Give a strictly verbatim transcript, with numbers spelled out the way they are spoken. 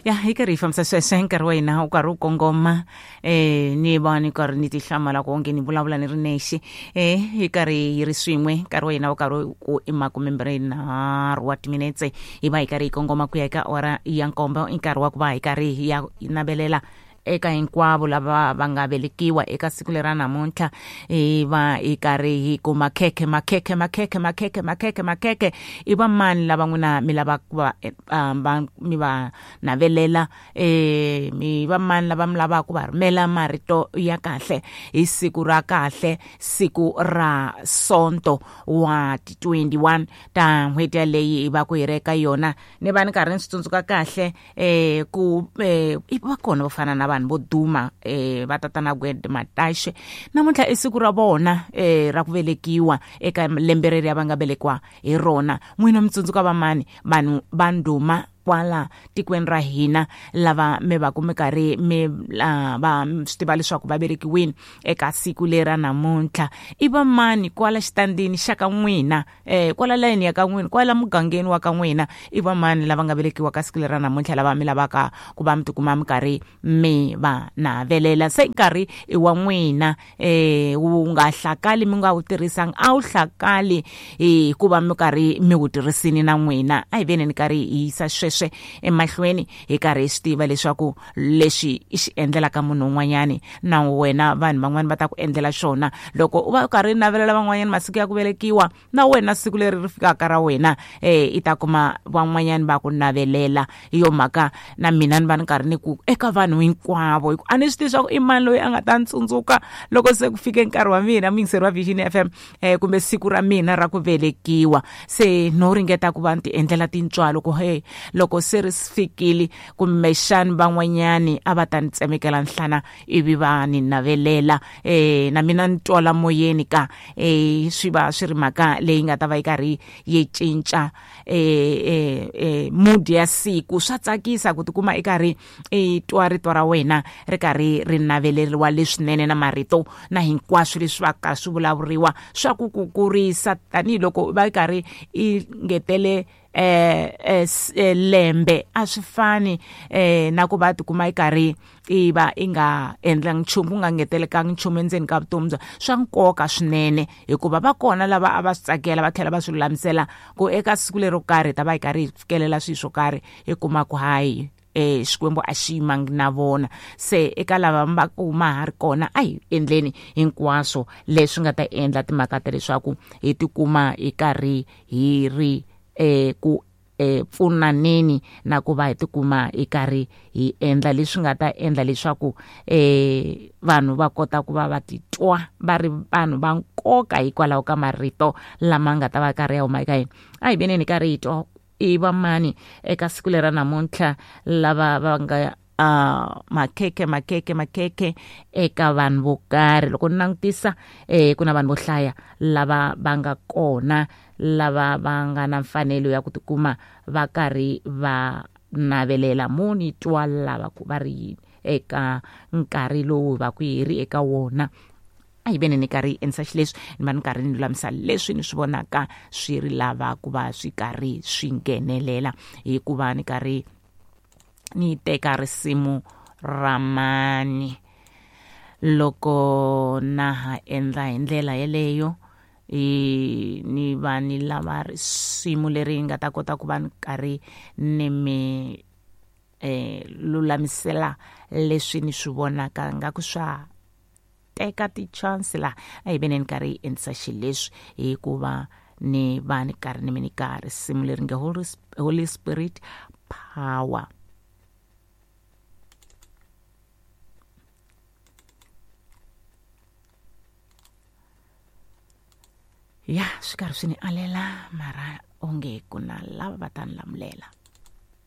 Ya hi karhi hi fambisa sweswo hi nkarhi wa hina wu karhi wu kongoma um ni va ni karhi ni tihlamala ku onge ni vulavula ni ri nexe um hi karhi hi ri swin'we nkarhi wa hina wu karhi ku i makumembirhi nharhu wa timinetse hi va hi karhi hi kongoma ku ya eka awara ya nkombo i nkarhi wa ku va hi karhi hi ya navelela eka hinkwavo lava va nga velekiwa eka siku leri ra namuntlha hi va hi karhi hi ku makhekhe makhekhe makhekhe makhekhe makhekhe makhekhe i va mani lava n'wina mi lava ku va va mi va navelela eh mi va mani lava mi lavaka ku va rhumela marito ya kahle hi siku ra kahle siku ra Sonto wa ti twenty-one ta n'hweti yaleyi hi va ku hi ri eka yona ni va ni karhi ni swi tsundzuka kahle eh ku eh i va kona vo fana na vanhu vo duma eh va tatana Gwede Matashe namuntlha i siku ra vona eh ra ku velekiwa eka lembe reri va nga velekiwa hi rona n'wina mi tsundzuka va mani vanhu va ndhuma kwala tikweni ra hina lava mi va ku mi karhi mi va swi tiva leswaku va velekiwini eka siku leri ra namuntlha i va mani kwala xitandini xa ka n'wina eh kwala layeni ya ka n'wina kwala mugangeni wa ka n'wina i va mani lava nga velekiwa ka siku leri ra namuntlha lava mi lavaka ku va mi tikuma mi karhi mi va navelela se nkarhi i wa n'wina eh wu nga hlakali mi nga wu tirhisanga a wu hlakali hikuva mi karhi mi wu tirhisini na n'wina a hi veni ni karhi hi yisa sweswo emahlweni hi karhi hi swi tiva leswaku leswi i xi endlelaka munhu un'wanyani na wena vanhu van'wani va ta ku endlela xona loko u va u karhi navelela van'wanyani masiku ya ku velekiwa na wena siku leri ri fikaka ra wena eh i ta kuma van'wanyani va ku navelela hi yo mhaka na mina ni va ni karhi ni ku eka vanhu hinkwavo hi ku a ni swi tivi swa ku i mani loyi a nga ta ni tsundzuka loko se ku fike nkarhi wa mina muyingiseri wa Vision F M eh kumbe siku ra mina ra ku velekiwa se no ringeta ku va ni ti endlela tintswalo ku hey loko se ri fikile kumbexani van'wanyani a va ta ni tsemekela nhlana ivi va ni navelela eh na mina ni twala moyeni ka eh swi va swi ri mhaka leyi nga ta va yi karhi yi cinca eh eh mood ya siku swa tsakisa ku tikuma i karhi i twa rito ra wena ri karhi ri naveleriwa leswinene na marito na hinkwaswo leswi va ka swi vulavuriwa swa ku ku kurisa tanihiloko va karhi i ngetele eh eh lembe a swi fani eh na ku va tikuma i karhi i va i nga endlangi nchumu ku nga ngetelekangi nchumu endzeni ka vutomi bya swa nkoka swinene hikuva va kona lava a va swi tsakela va tlhela va swi lulamisela ku eka siku lero karhi ta va hi karhi hi fikelela swilo swo karhi hi kuma ku hayi eh Xikwembu a xi yimangi na vona se eka lava va ku ma ha ri kona a hi endleni hinkwaswo leswi nga ta endla timhaka ta leswaku hi tikuma hi karhi hi ri eh ku eh pfunaneni na ku va hi tikuma hi karhi hi endla leswi nga ta endla leswaku eh vanhu va kota ku va va titwa va ri vanhu va nkoka hikwalaho ka marito lama nga ta va karhi ya huma eka hina a hi veneni karhi hi twa i va mani eka siku leri ra namuntlha lava va nga uh makhekhe makhekhe makhekhe eka vanhu vo karhi loko ni langutisa eh ku na vanhu vo hlaya lava va nga kona lava va nga na mfanelo ya ku tikuma va karhi va navelela muni twa lava ku va ri yini eka nkarhi lowu va ku hi ri eka wona a hi veni ni karhi hi endlisa xileswi ni va ni karhi ni lulamisa leswi ni swi vonaka swi ri lava ku va swi karhi swi nghenelela hikuva ni karhi ni teka risimu ra mani loko na ha endla hi ndlela yeleyo i ni va ni lava risimu leri nga ta kota ku va ni karhi ni mi eh lulamisela leswi ni swi vonaka nga ku swa teka ti-chance la a hi veni ni karhi hi endlisa xileswi hikuva ni va ni karhi ni mi nyika risimu leri nge Holy Spirit Power. Ya swi karhi swi ni alela mara onge ku na lava va ta ni lamulela.